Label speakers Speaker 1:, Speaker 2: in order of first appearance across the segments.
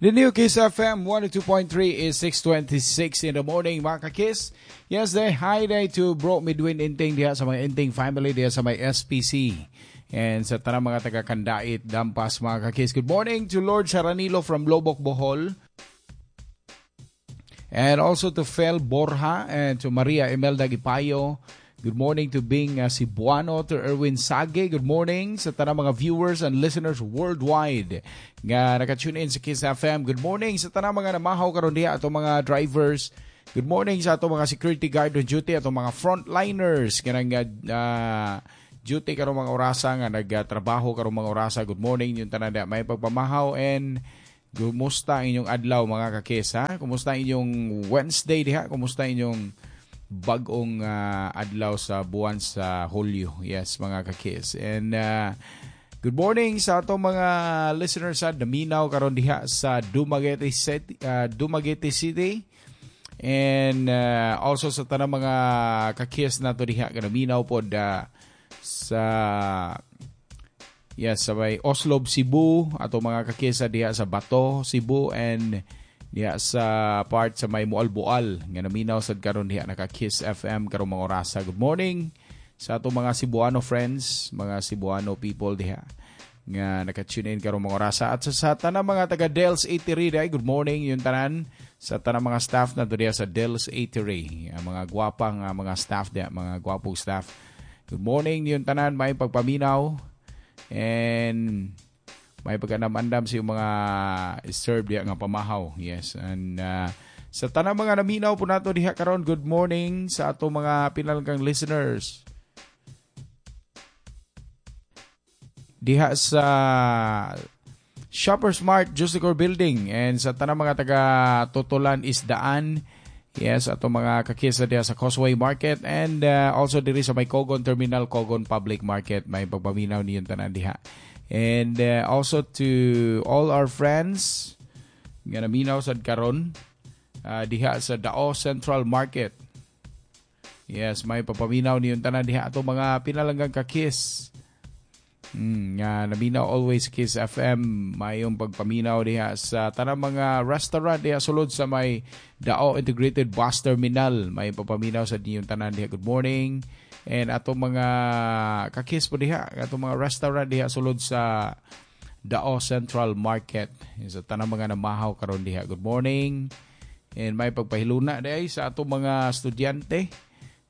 Speaker 1: The new Kiss FM 102.3 is 6:26 in the morning, mga ka-Kiss. Yes, day, hi day to Bro Midwin Inting diha sa mga Inting family diha sa may SPC. And sa tanang mga taga-Kandait, Dampas, mga ka-Kiss. Good morning to Lord Saranilo from Loboc, Bohol. And also to Fel Borja and to Maria Imelda Gipayo. Good morning to Bing Cebuano, to Erwin Sage. Good morning sa tanang mga viewers and listeners worldwide nga naka-tune in sa Kiss FM. Good morning sa tanang mga namahaw karon diha, ato mga drivers. Good morning sa ato mga security guard on duty, ato mga frontliners kanang duty karong mga orasa, nga nagtrabaho karong mga orasa. Good morning yung tanan diha. May pagpamahaw and kumusta ang inyong adlaw, mga ka-Kiss, ha? Kumusta ang inyong Wednesday diha? Kumusta ang inyong bagong adlaw sa buwan sa Hulyo? Yes, mga ka-Kiss. And good morning sa ato mga listeners sa naminaw karon diha sa Dumaguete City, Dumaguete City. And also sa tanang mga ka-Kiss nato diha nga naminaw pod sa, yes, sa may Oslob, Cebu, ato mga ka-Kiss diha sa Bato, Cebu, and diha sa part sa may Moalboal nga naminaw sad karon diha, naka Kiss FM karong mga orasa. Good morning sa ato mga Cebuano friends, mga Cebuano people diha nga naka-tune in karong mga orasa. At sa tanang mga taga Del's Eatery diha, good morning yung tanan sa tanang mga staff na diha sa Del's Eatery. Ang mga gwapang mga staff diha, mga gwapong staff. Good morning yung tanan, may pagpaminaw and may pagkanam-andam sa yung mga serve diha nga pamahaw. Yes. And sa tanang mga naminaw po nato diha karon, good morning sa ato mga pinalanggang listeners diha sa Shopper Smart Justicor Building and sa tanang mga taga Tutulan Isdaan. Yes, ato mga kakisa diha sa Causeway Market and also diri sa may Cogon Terminal, Cogon Public Market, may pagpaminaw niyong tanan diha. And also to all our friends nga naminaw sad karon diha sa Dao Central Market. Yes, may papaminaw niyong tanan diha, ato mga pinalanggang ka-Kiss. Nga naminaw always Kiss FM, mayong pagpaminaw diha sa tanang mga restaurant diha sulod sa may Dao Integrated Bus Terminal. May papaminaw sa niyong tanan diha. Good morning. And ato mga ka-Kiss po diha, ato mga restaurant diha sulod sa Dao Central Market. Sa tanang mga namahaw karon diha. Good morning. And may pagpahiluna diha sa ato mga estudyante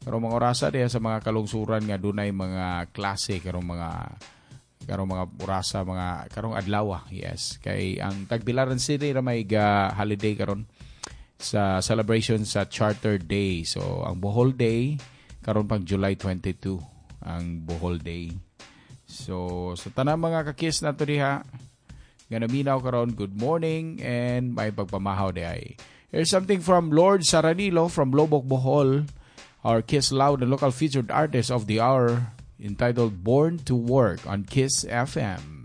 Speaker 1: karong mga orasa diha sa mga kalungsuran nga dunay mga klase karong mga orasa, mga karong adlaw. Yes, kay ang Tagbilaran City ra may ga holiday karon sa celebration sa Charter Day. So ang Bohol Day karon pang July 22 ang Bohol Day. So sa tanang mga ka-Kiss nato diha nga naminaw karon, good morning and may pagpamahaw diay. Here's something from Lord Saranilo from Loboc, Bohol, our Kiss Loud and local featured artist of the hour, entitled "Born to Work" on Kiss FM.